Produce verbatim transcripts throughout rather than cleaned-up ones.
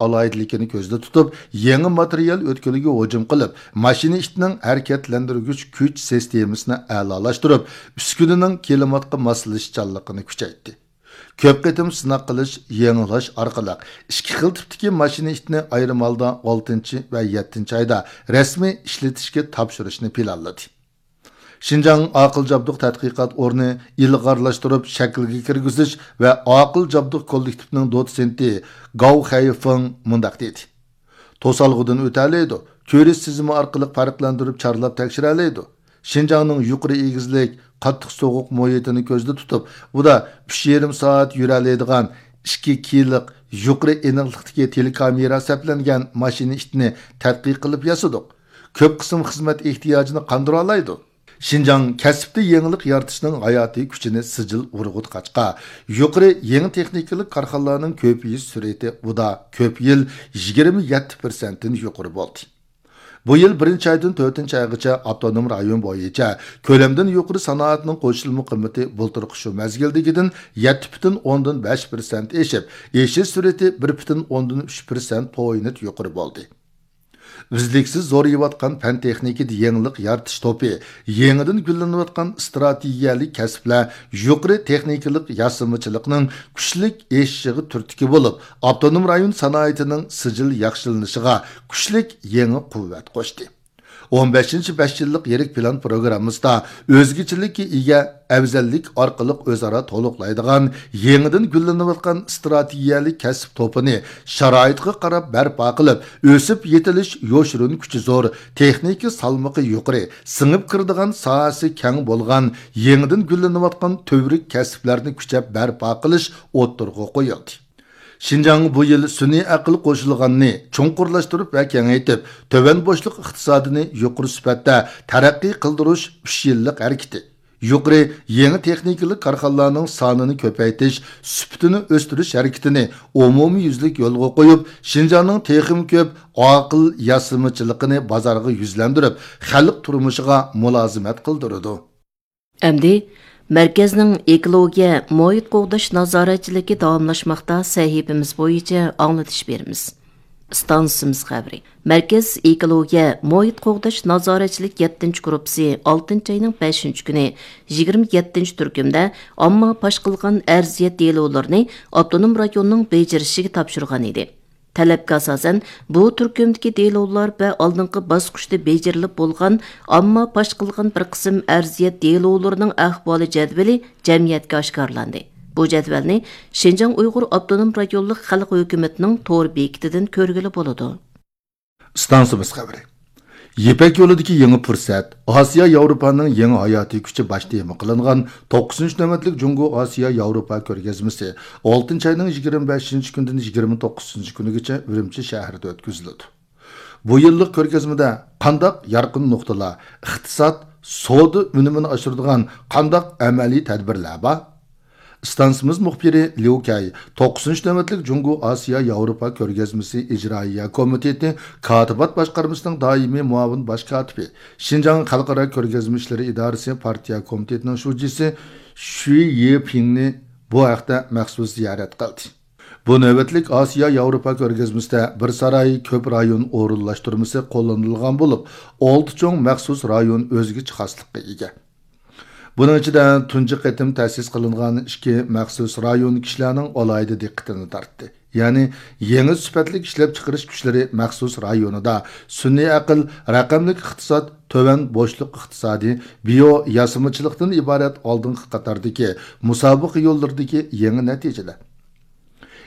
ئالاھىدىلىكىنى كۆزدە تۇتۇپ، يېڭى ماتېرىيال ئۆتكىلىگە ھۇجۇم قىلىپ، ماشىنا ئىتىنىڭ ھەرىكەتلەندۈرگۈچ كۈچ سىستېمىسىنى ئەلالاشتۇرۇپ، ئۈسكۈنىنىڭ كىلىماتقا ماسلىشىشچانلىقىنى كۈچەيتتى. كۆپ قېتىم سىناق قىلىش، يېڭىلاش ئارقىلىق ئىككى خىل تىپتىكى ماشىنا ئىتنى ئايرىم ھالدا ئالتىنچى ۋە يەتتىنچى ئايدا رەسمىي ئىشلىتىشكە تاپشۇرۇشنى پىلانلىدى. شىنجاڭ ئاقىل جابدۇق تەتقىقات ئورنى ئىلغارلاشتۇرۇپ شەكىلگە كىرگۈزۈش ۋە ئاقىل جابدۇق كوللېكتىپىنىڭ دوتسېنتى گاۋ خەيفېڭ مۇنداق دېدى: توسالغۇدىن ئۆتەلەيدۇ، كۆرۈش سېزىمى ئارقىلىق پەرقلەندۈرۈپ چارلاپ تەكشۈرەلەيدۇ. شىنجاڭنىڭ يۇقىرى ئېگىزلىك، قاتتىق سوغۇق مۇھىتىنى كۆزدە تۇتۇپ، ئۇدا ئۈچ يېرىم سائەت يۈرەلەيدىغان ئىككى كېيلىق يۇقىرى ئېنىقلىقتىكى تېلېكامېرا سەپلەنگەن ماشىنا ئىتنى تەتقىق قىلىپ ياسىدۇق. كۆپ قىسىم خىزمەت ئېھتىياجىنى قاندۇرالايدۇ. شىنجاڭ كەسىپتە يېڭىلىق يارىتىشنىڭ ھاياتىي كۈچىنى سىجىل ئۇرغۇتقاچقا، يۇقىرى يېڭى تېخنىكىلىق كارخانىلارنىڭ كۆپىيىش سۈرئىتى ئۇدا كۆپ يىل يىگىرمە يەتتە پىرسەنتتىن يۇقىرى بولدى. بۇ يىل بىرىنچى ئايدىن تۆتىنچى ئايغىچە ئاپتونوم رايون بويىچە كۆلەمدىن يۇقىرى سانائەتنىڭ قوشۇلما قىممىتى بۇلتۇرقى شۇ مەزگىلدىكىدىن يەتتە پۈتۈن ئوندىن بەش پىرسەنت ئېشىپ، ئېشىش سۈرئىتى بىر پۈتۈن ئوندىن ئۈچ پىرسەنت پوينت يۇقىرى بولدى. ئۈزلۈكسىز زورىيىۋاتقان پەن تېخنىكىدا يېڭىلىق يارىتىش توپى، يېڭىدىن گۈللىنىۋاتقان ئىستراتېگىيەلىك كەسىپلەر يۇقىرى تېخنىكىلىق ياسىمىچىلىقنىڭ كۈچلۈك ئېشىشىغا تۈرتكە بولۇپ، ئاپتونوم رايون سانائىتىنىڭ سىجىل ياخشىلىنىشىغا كۈچلۈك يېڭى قۇۋۋەت قوشتى. ئون بەشىنچى بەش يىللىق يىرىك پىلان پروگراممىسىدا ئۆزگىچىلىككە ئىگە ئەۋزەللىك ئارقىلىق ئۆزئارا تولۇقلايدىغان يېڭىدىن گۈللىنىۋاتقان ئىستراتېگىيەلىك كەسىپ توپىنى شارائىتقا قاراپ بەرپا قىلىپ، ئۆسۈپ يېتىلىش يوشۇرۇن كۈچى زور، تېخنىكا سالمىقى يۇقىرى، سىڭىپ كىرىدىغان ساھەسى كەڭ بولغان يېڭىدىن گۈللىنىۋاتقان تۈۋرۈك كەسىپلەرنى كۈچەپ بەرپا قىلىش ئوتتۇرىغا قويۇلدى. شىنجاڭ بۇ يىل سۈنئىي ئەقىل قوشۇلغاننى چوڭقۇرلاشتۇرۇپ ۋە كېڭەيتىپ، تۆۋەن بوشلۇق ئىقتىسادىنى يۇقىرى سۈپەتتە تەرەققىي قىلدۇرۇش ئۈچ يىللىق ھەرىكىتى، يۇقىرى يېڭى تېخنىكىلىق كارخانىلارنىڭ سانىنى كۆپەيتىش، سۈپىتىنى ئۆستۈرۈش ھەرىكىتىنى ئومۇميۈزلۈك يولغا قويۇپ، شىنجاڭنىڭ تېخىمۇ كۆپ ئاقىل ياسىمىچىلىقىنى بازارغا يۈزلەندۈرۈپ، خەلق تۇرمۇشىغا مۇلازىمەت قىلدۇرىدۇ. ئەمدى مەركەزنىڭ ئېكولوگىيە، مۇھىت قوغداش نازارەتچىلىكى داۋاملاشماقتا سەھىپىمىز بويىچە ئاڭلىتىش بېرىمىز. ئىستانسىمىز خەۋىرى. مەركەز ئېكولوگىيە، مۇھىت قوغداش نازارەتچىلىك يەتتىنچى گۇرۇپپىسى ئالتىنچى ئاينىڭ بەشىنچى كۈنى يىگىرمە يەتتىنچى تۈركۈمدە ئامما پاش قىلغان ئەرزىيەت دېلولىرىنى ئاپتونوم رايوننىڭ بېجىرىشىگە تاپشۇرغان ئىدى. تەلەپكە ئاساسەن، بۇ تۈركۈمدىكى دېلولار ۋە ئالدىنقى باسقۇچتا بېجىرىلىپ بولغان ئامما پاش قىلغان بىر قىسىم ئەرزىيەت دېلولىرىنىڭ ئەھۋالى جەدۋىلى جەمئىيەتكە ئاشكارىلاندى. بۇ جەدۋەلنى شىنجاڭ ئۇيغۇر ئاپتونوم رايونلۇق خەلق ھۆكۈمىتىنىڭ تور بېكىتىدىن كۆرگىلى بولىدۇ. ئىستانسىمىز خەۋىرى. يىپەك يولىدىكى يېڭى پۇرسەت، ئاسىيا ياۋروپانىڭ يېڭى ھاياتىي كۈچى باش تېما قىلىنغان توققۇزىنچى نۆۋەتلىك جۇڭگو ئاسىيا ياۋروپا كۆرگەزمىسى ئالتىنچى ئاينىڭ يىگىرمە بەشىنچى كۈنىدىن يىگىرمە توققۇزىنچى كۈنىگىچە ئۈرۈمچى شەھىرىدە ئۆتكۈزۈلىدۇ. بۇ يىللىق كۆرگەزمىدە قانداق يارقىن نۇقتىلار، ئىقتىساد، سودا ئۈنۈمىنى ئاشۇرىدىغان قانداق ئەمەلىي تەدبىرلەر بار؟ ئىستانسىمىز مۇخبىرى ليۇ كەي توققۇزىنچى نۆۋەتلىك جۇڭگو ئاسىيا ياۋروپا كۆرگەزمىسى ئىجرائىيە كومىتېتى كاتىبات باشقارمىسىنىڭ دائىمىي مۇئاۋىن باش كاتىپى، شىنجاڭ خەلقئارا كۆرگەزمە ئىشلىرى ئىدارىسى پارتىيە كومىتېتىنىڭ شۇجىسى شۈي يېپىڭنى بۇ ھەقتە مەخسۇس زىيارەت قىلدى. بۇ نۆۋەتلىك ئاسىيا ياۋروپا كۆرگەزمىسىدە بىر ساراي، كۆپ رايون ئورۇنلاشتۇرمىسى قوللىنىلغان بولۇپ، ئالتە چوڭ مەخسۇس رايون ئۆزگىچە خاسلىققا ئىگە. بۇنىڭ ئىچىدە تۇنجى قېتىم تەسىس قىلىنغان ئىككى مەخسۇس رايون كىشىلەرنىڭ ئالاھىدە دىققىتىنى تارتتى. يەنى يېڭى سۈپەتلىك ئىشلەپچىقىرىش كۈچلىرى مەخسۇس رايونىدا سۈنئىي ئەقىل، رەقەملىك ئىقتىساد، تۆۋەن بوشلۇق ئىقتىسادى، بىيو ياسىمىچىلىقتىن ئىبارەت ئالدىنقى قاتاردىكى مۇسابىقە يوللىرىدىكى يېڭى نەتىجىلەر.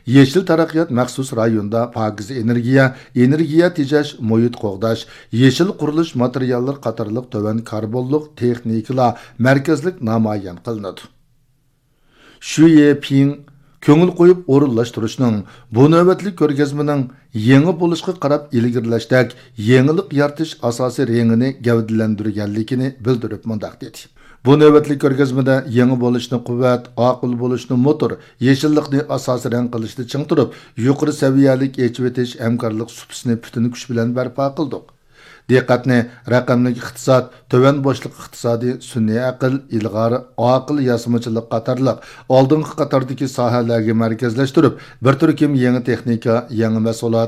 يېشىل تەرەققىيات مەخسۇس رايونىدا پاكىز ئېنېرگىيە، ئېنېرگىيە تېجەش، مۇھىت قوغداش، يېشىل قۇرۇلۇش ماتېرىياللىرى قاتارلىق تۆۋەن كاربونلۇق تېخنىكىلار مەركەزلىك نامايان قىلىنىدۇ. شۈ يېپىڭ كۆڭۈل قويۇپ ئورۇنلاشتۇرۇشنىڭ، بۇ نۆۋەتلىك كۆرگەزمىنىڭ يېڭى بولۇشقا قاراپ ئىلگىرىلەشتەك يېڭىلىق يارىتىش ئاساسىي رېڭىنى گەۋدىلەندۈرگەنلىكىنى بىلدۈرۈپ مۇنداق دېدى: بۇ نۆۋەتلىك كۆرگەزمىدە يېڭى بولۇشنى قۇۋۋەت، ئاقىل بولۇشنى موتور، يېشىللىقنى ئاساسىي رەڭ قىلىشتا چىڭ تۇرۇپ، يۇقىرى سەۋىيەلىك ئېچىۋېتىش ھەمكارلىق سۇپىسىنى پۈتۈن كۈچ بىلەن بەرپا قىلدۇق. دىققەتنى رەقەملىك ئىقتىساد، تۆۋەن بوشلۇق ئىقتىسادى، سۈنئىي ئەقىل، ئىلغار، ئاقىل ياسىمىچىلىق قاتارلىق ئالدىنقى قاتاردىكى ساھەلەرگە مەركەزلەشتۈرۈپ، بىر تۈركۈم يېڭى تېخنىكا، يېڭى مەھسۇلات،